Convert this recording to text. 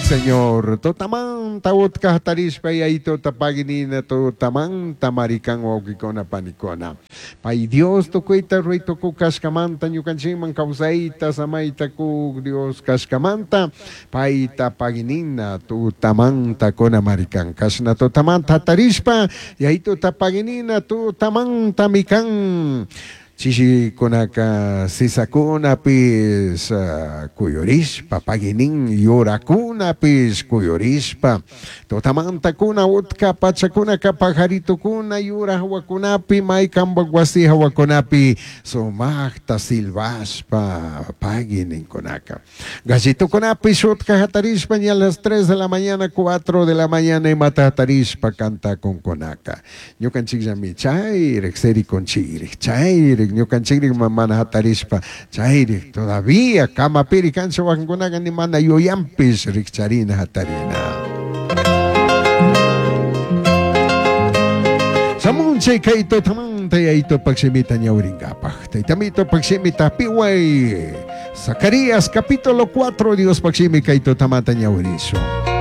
Señor. Tutamanta utka hatarishpa Yaitota pagui nina tutamanta marikan wawkikuna panikuna. Pai Dios tucuita rurai tucuc cashcamanta ñucanchikman causaita samaita cuc Dios cashcamanta paita pagui nina tutamanta cuna marikan. Cashna tutamanta hatarishpa Yaitota pagui nina tutamantami can. Chishikunaka sisakunapish kuyurishpa, pagui nin yurakunapish kuyurishpa, tutamantakuna utka pachakunaka pajaritukuna yura hawakunapi maykanpak wasi hawakunapi sumakta silbashpa pagui ninkunaka. Gallitukunapish utka hatarishpa ña las 3 de la mañana, 4 de la mañana imata hatarishpa kantakunkunaka. Ñukanchikllami chayrik sirikunchikrik, chayrik ñukanchikrik mana hatarishpa chayrik todavía kamapiri kancha wakinkunaka ni mana yuyanpish rikcharina hatarina. Shamunchay kay tutamanta Yayitopak shimita ñawrinkapak. Taytamitopak shimita piway. Zacarías capítulo 4 Diospaj shimi kay tutamanta ñawirishun.